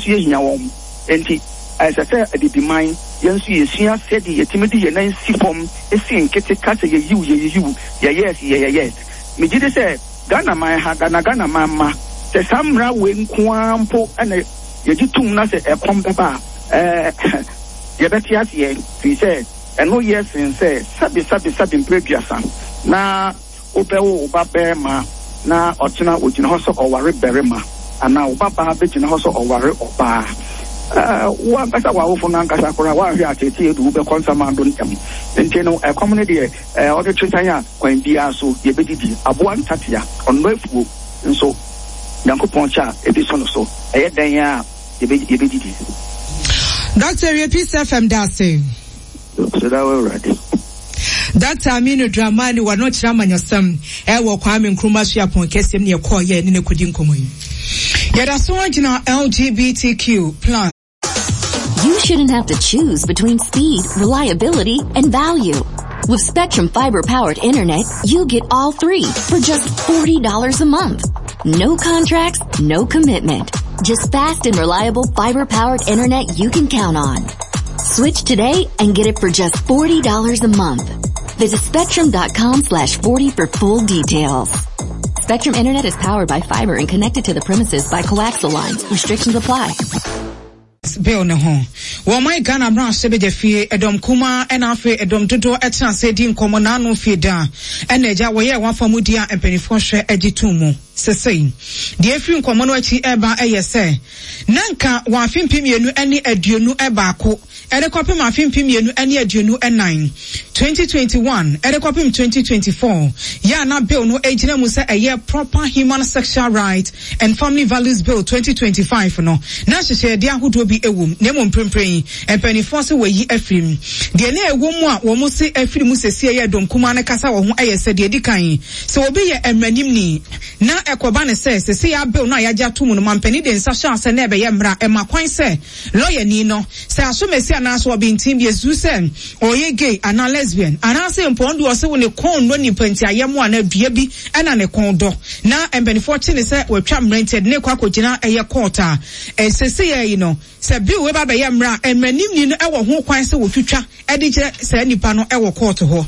Nso yɛhia wɔn. Enti, ɛsɛ sɛ Abibiman, yɛn nso yɛsua sɛdeɛ yɛtumi de yɛn nan si fam si nkete ka sɛ yɛyiw, yɛyiyiw, yɛyɛs, yɛyɛyɛs. Megye di sɛ Ghanaman ha, Ghana Ghanaman mma, sɛ saa mmara wei nko ara mpo na yɛgye tom na sɛ ɛkɔm bɛba a, ɛɛ, yɛbɛte aseɛ, firi sɛ ɛno yɛ sen sɛ sɛbe, sɛbe, sɛbe mprɛ aduasa na Wobɛwo wo ba barima na ɔkyena ogyina hɔ sɛ ɔware barima, anaa wo babaa bɛgyina hɔ sɛ ɔware ɔbaa. Wo ankasa w'awofo no ankasa koraa, woanhwɛ a teetee de wo bɛkɔ nsamando ntɛm. Nti no, ɛkɔm no deɛ, ɔde twe san a, kwan biara so yɛbɛdidi. Aboa ntatea, ɔnnɔ afuo, nso Nyankopɔn kyɛ a ebi so no so, ɛyɛ dɛn ara a yɛbɛdidi. Doctor Awie Peace FM da ase. Hyira wo Awurade. Doctor Aminu Dramani wɔ no kyerɛ amanyɔsɛm ɛwɔ Kwame Nkrumah Suapɔn kɛseɛ mu ne yɛkɔɔ yɛ ne no kɔdi nkɔmmɔ yi. Yɛda so gyina LGBTQ plus. You shouldn't have to choose between speed, reliability, and value. With Spectrum Fiber powered internet, you get all three for just $40 a month. No contracts, no commitment. Just fast and reliable fiber powered internet you can count on. Switch today and get it for just $40 a month. Visit spectrum.com slash 40 for full details. Spectrum Internet is powered by fiber and connected to the premises by coaxial lines. Restrictions apply. Bill no ho. Wɔ ɔman Ghana mmarahyɛbadwa fie, ɛdɔm kumaa ɛna afei ɛdɔm dodoɔ ɛtena ase di nkɔmmɔ n'ano fie da ɛna agya wɔyɛɛ wɔn afa mu di a mpanimfoɔ hwɛ agye tom mu. Sesei, deɛ ɛfiri nkɔmmɔ no akyi ɛreba ɛyɛ sɛ, na nka wɔ afe 2021 de kɔpem afe 2024, 2021 de kɔpem 2024, yɛ a na bill no gyina mu sɛ ɛyɛ Proper Human Sexual Rights and Family Values Bill 2025 no, na nhyehyɛeɛdeɛ ahodoɔ bi wɔ mu, na mmom mprempren yi, mpanimfoɔ se wɔayi afiri mu. Deɛ na ɛwɔ mu a wɔn se afiri mu seesei yɛ dɔm kumaa no kasa wɔ ho yɛ sɛ, deɛ ɛdi kan, sɛ obi yɛ mmaranimni, na ɛkɔba no sɛ seesei ara bill no a yɛagye ato mu no mampanin de nsa hyɛ ase na ɛbɛyɛ mmara a ɛma kwan sɛ lɔyani no, sɛ asomasi anaasɛ ɔbenten bi asusu sɛ ɔyɛ gay anaa lesbian, anaasɛ mpo ɔno deɛ ɔse wo ne kɔn nnɔ nipa nti ayɛmmoa anaa dua bi na ne kɔn dɔ, na mpanimfoɔ kye no sɛ watwa mmara nti ɛde no rekɔ akɔgyina ɛyɛ court a, seesei ara yi no, sɛ bill wei ba bɛyɛ mmara a, mmaranimni no wɔ ho kwan sɛ wɔtwitwa de kyerɛ saa nipa no wɔ kɔɔto hɔ.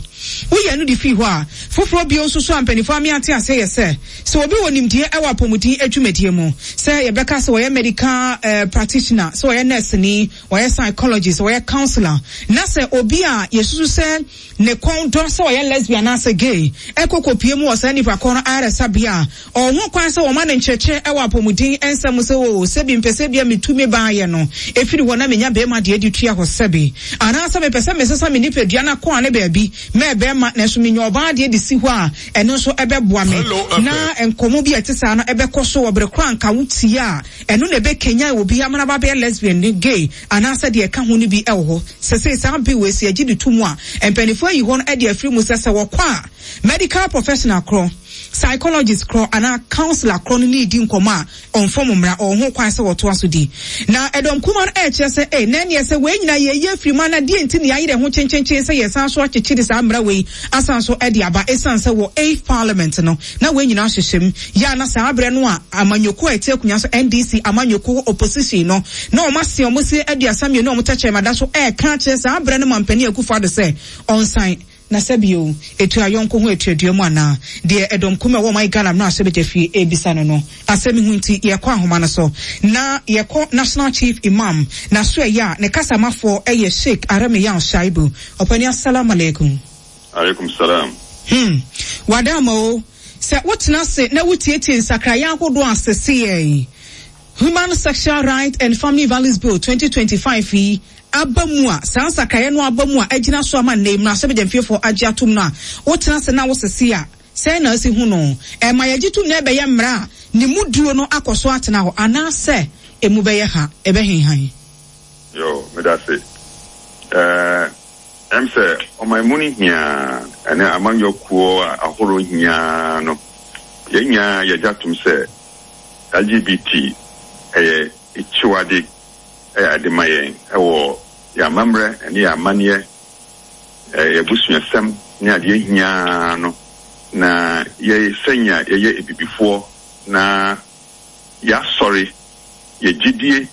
Woyi ɛno de firi hɔ a, foforɔ bio nso so a mpanimfoɔ ame ate aseɛ yɛ sɛ, sɛ obi wɔ nimdeɛ wɔ apɔmuden adwumadie mu, sɛ yɛbɛka sɛ ɔyɛ medical practitioner, sɛ ɔyɛ nɛɛseni, ɔyɛ psychologist, ɔyɛ counsellor, na sɛ obi a yɛsusu sɛ ne kɔn dɔ sɛ ɔyɛ lesbian anaasɛ gay kɔ kɔpue mu wɔ saa nipa korɔ no ayaresabea a, ɔwɔ ho kwan sɛ wɔma no nkyerɛkyerɛ wɔ apɔmuden nsɛm mu sɛ, Oo, sɛbi mepɛ sɛ ebia metu me baayɛ no firi hɔ na menya barima deɛ de tua hɔ sɛbi. Anaasɛ mepɛ sɛ mesesa me nipadua no akɔ ane baabi mɛ barima nanso menya ɔbaa deɛ de si hɔ a, ɛno nso ɛbɛboa me. Na nkɔmmɔ bi a ɛte saa no ɛbɛkɔ so wɔ bere korɔ a anka wotie a, ɛno na ɛbɛkanyan obi ama no aba abɛyɛ lesbian ne gay anaasɛ deɛ ɛka ho no bi wɔ hɔ. Sesei saa bill wei sɛ yɛgye de to mu a, mpaninfoɔ ayi hɔ no de afiri mu sɛ sɛ wɔkɔ a medical professional korɔ, psychologist korɔ anaa counsellor korɔ no ne redi nkɔmmɔ a ɔmfam mmara, ɔwɔ ho kwan sɛ wɔtoa so di. Na ɛdɔm kumaa no ɛrekyerɛ sɛ ei na ɛneɛ sɛ wei nyinaa yɛyi afiri mu a na deɛn nti na yɛayere ho kyenkyenkyen sɛ yɛsan so akyekyere saa mmara wei asan so de aba ɛsiane sɛ wɔ eighth parliament no na wei nyinaa hyehyɛ mu yɛ a na saa berɛ no a amanyɔkuo a ɛte akonnwa so NDC amanyɔkuo opposition no na wɔn ase wɔn se 32 a wɔn tɛkyerɛma da so ɛreka akyerɛ saa berɛ no mampanin Akufo Addo sɛ ɔnsan Na sɛ bio, etua yɔnko ho atuadua mu anaa? Deɛ ɛdɔm kum a ɛwɔ ɔman Ghana mmarahyɛbadwa fie rebisa no no asɛm yi ho nti, yɛkɔ ahoma no so na yɛkɔ National Chief Imam n'asoɛeɛ a ne kasamafoɔ yɛ Sheik Aramiyaw Shaibu. Ɔpanin Assalam Alaikum. Alaikum salam. Hmm, wada ama o. Sɛ wotena ase na wotietie nsakraeɛ ahodoɔ a seseɛ Human Sexual Rights and Family Values Bill, 2025 yi aba mu a, saa nsakraeɛ no aba mu a agyina so ama nnɛ yi mmarahyɛbadwamfiefoɔ agye atom no a, wotena ase na wosese a, sɛn na asi hu no? Ɛma yɛgye tom na ɛbɛyɛ mmara a ne mu duro no akɔ so atena hɔ anaasɛ emu bɛyɛ ha, ɛbɛhenhan? Yoo, meda ase. Ɛɛ, ɛm sɛ ɔman mu no hia ɛne amanyɔ kuo ahorow hia no, yɛn nyinaa yɛgye atom sɛ LGBT yɛ akyiwade yɛ ade ma yɛn wɔ yɛn amammerɛ ne yɛn amanneɛ, yɛn abusuasɛm ne adeɛ hia no, na yɛ sɛnea yɛyɛ abibifoɔ na yɛasɔre yɛ gyedie.